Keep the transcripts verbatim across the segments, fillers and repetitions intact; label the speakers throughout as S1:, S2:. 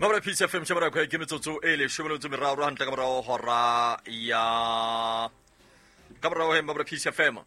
S1: Mabra P C F M shabara kwa ke metsotso e leshome le metso e meraro hantle ka morao hora ya ka morao he Mabra P C F M. Uh,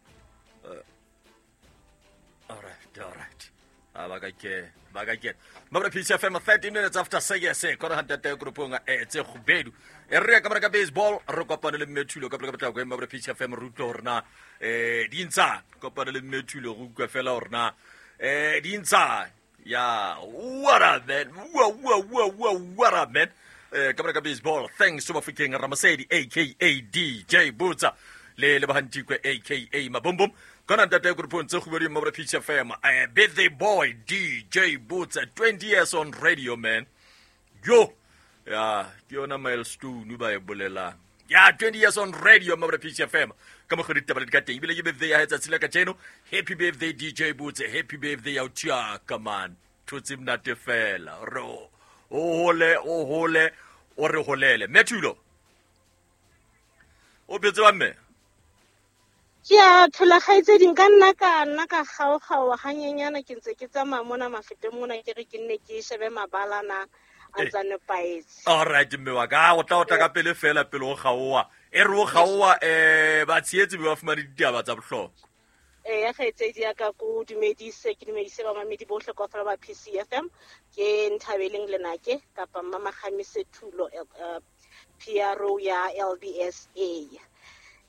S1: all right, all right. Ah ba ka ke ba ka ke Mabra P C F M thirteen minutes after six kora hantle te grupong e tse kgubedu e re ka ka baseball re kopane le Mmethulo ka pele ka kwa Mabra P C F M re utlwe hore na eh di ntsa kopane le Mmethulo go utlwa fela hore na eh di ntsa ya what up man wa wa wa wa what up man eh ka ka baseball thanks to Bafokeng Ramasedi aka D J Butsa le le Bahantikwe aka Mabumbum kana ntate grupong tse kgubedu Mabra P C F M eh birthday boy D J Butsa twenty years on radio man yo ya ke yona milestone ba e bolelang ya twenty years on radio Mabra P C F M ka mokgwa ditaba le di ka teng ebile ke birthday ya letsatsi la kajeno happy birthday D J Butsa happy birthday ya uthiaka man thotse monate fela re o hole o hole o re holele Mmethulo o phetse ba mme
S2: ke a thola kgaitsedi nka nna ka nna ka kgaokgaoa hanyenyana ke ntse ke tsamaya mona mafeteng mona ke re ke nne ke shebe mabalana a tsa nepaetse.
S1: All right mme wa ka o tla o tla ka pele fela pele o kgaoa e re o kgaoa eh ba tshietse be ba fumane ditaba tsa bohlokwa.
S2: Eh ya kgaitsedi ya ka ko dumedise ke dumedise ba mamedi bohle kaofela ba P C F M ke Nthabeleng Lenake kapa Mma Thulo P R O ya L B S A.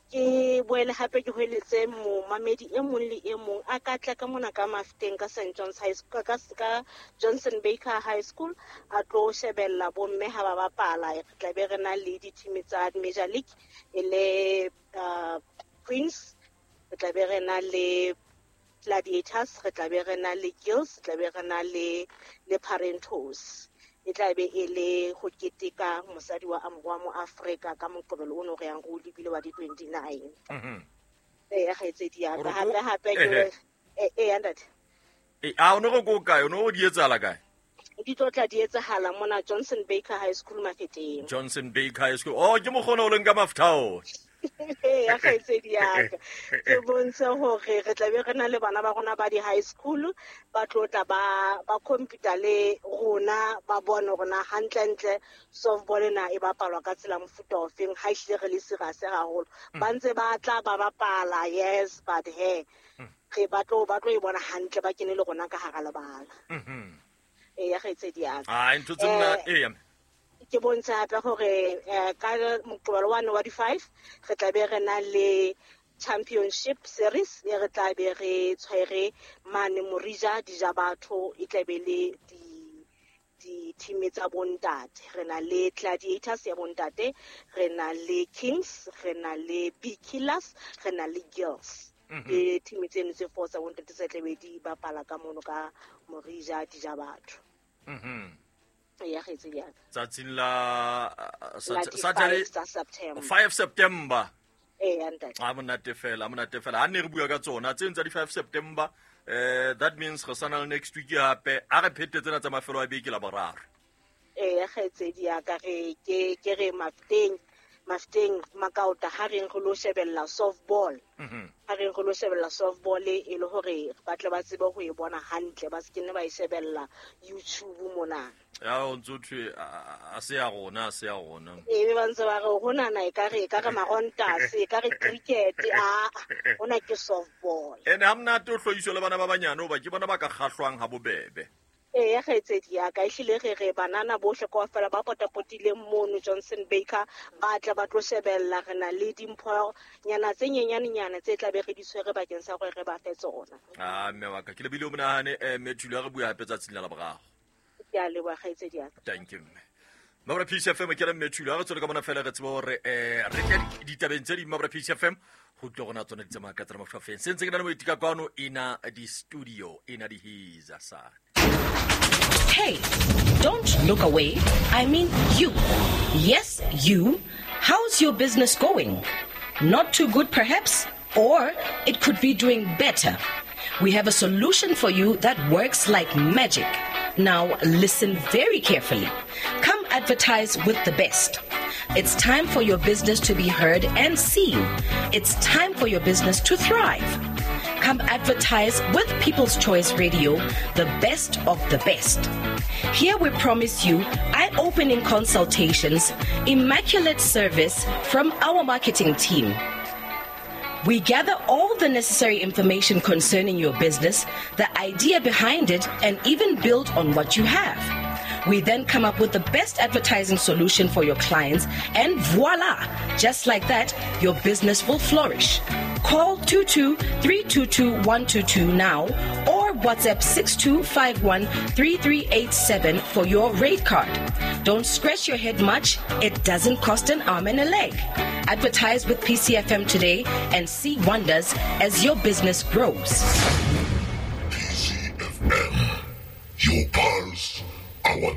S2: Ke boele hape ke hweletse momamedi e mong le e mong a ka tla ka mona ka Mafteng ka Saint John's High School ka ka Johnson Baker High School a tlo shebella bomme ha ba bapala re tla be re na le di-team tsa Major League e le uh, Queens re tla be re na le Gladiators re tla be re na le Girls re tla be re na le le Parentos e tla be e le ho keteka mosadi wa wa mo Afrika ka moqobelo ono re yang go lebile wa di twenty-nine.
S1: Mhm.
S2: Eh kgaitsedi ya ka hape hape ke eh eh ntate.
S1: Eh a ono go go kae ono di etsahala kae?
S2: Di tlotla di etsahala mona Johnson Baker High School Mafeteng.
S1: Johnson Baker High School. Oh ke mokgona o leng ka Maftao.
S2: Ya kgaitsedi ya ka. Ke bontshe hore re tla be re na le bana ba rona ba di high school ba tlotla ba ba computer le rona ba bone rona hantlentle softball ena e bapalwa ka tsela mofuta ofeng ha ehlile re le serious haholo ba ntse ba tla ba bapala yes but he re ba tlo ba tlo e bona hantle ba kene le rona ka hara lebala.
S1: Mhm.
S2: Eh ya kgaitsedi ya ka.
S1: Ah ntho tse mna eh ya
S2: ke bontsha hape hore ka moqobelo wa wa di five re tla be re na le championship series e re tla be re tshwere mane Morija dija batho e tla be le di di team tsa bontate re na le Gladiators ya bontate re na le Kings re na le Big Killers re na le Girls ke team tseno tse four tsa bontate tse tla be di bapala ka mono ka Morija dija batho.
S1: Mhm.
S2: Ya kgaitsedi ya ka
S1: tsatsing la
S2: Saturday September
S1: five September
S2: eh ntate
S1: a monate fela a monate fela ha ne re bua ka tsona tse tsa di five September eh that means re sana le next week hape a re phete tsena tsa mafelo a beke la boraro.
S2: Eh ya kgaitsedi ya ka re ke ke re Mafteng Mafteng Makaota ha re re lo shebella softball
S1: mhm
S2: ha re re lo shebella softball e le hore ba tle ba tsebe ho e bona hantle ba se ke ne ba e shebella YouTube mona.
S1: Ya o ntse thwe a se ya rona a se ya rona
S2: e ba ntse ba re hona na e ka re ka re marontas e ka re cricket a hona ke softball
S1: ene ha monate o hloiso le bana ba banyane hoba ke bona ba ka kgahlwang ha bobebe.
S2: Eh ya kgaitsedi ya ka ehlile re re banana bohle kaofela ba potapotileng mono Johnson Baker ba tla ba tlo shebella re na le dimpho nyana tse nyenyanenyana tse tla be re di tshwere bakeng sa hore re ba fe tsona.
S1: Ah mme wa ka ke lebile o monahane eh Mmethulo re bua hape tsatsing la boraro.
S2: Ke a leboha kgaitsedi ya ka.
S1: Thank you mme. Mabra P C F M ke re Mmethulo re tswele ka bona fela re tsebe hore eh re tle ditabeng tse ding Mabra P C F M go tlo gona tsone di tsamaya ka tsela mafafeng sentse ke na le moitika kwano ina di studio ina di hisa sa.
S3: Hey, don't look away. I mean you. Yes, you. How's your business going? Not too good perhaps, or it could be doing better. We have a solution for you that works like magic. Now listen very carefully. Come advertise with the best. It's time for your business to be heard and seen. It's time for your business to thrive. Come advertise with People's Choice Radio, the best of the best. Here we promise you eye-opening consultations, immaculate service from our marketing team. We gather all the necessary information concerning your business, the idea behind it, and even build on what you have. We then come up with the best advertising solution for your clients, and voila! Just like that, your business will flourish. Call two two three two two one two two now or WhatsApp six two five one three three eight seven for your rate card. Don't scratch your head much. It doesn't cost an arm and a leg. Advertise with P C F M today and see wonders as your business grows.
S4: P C F M, your pulse, our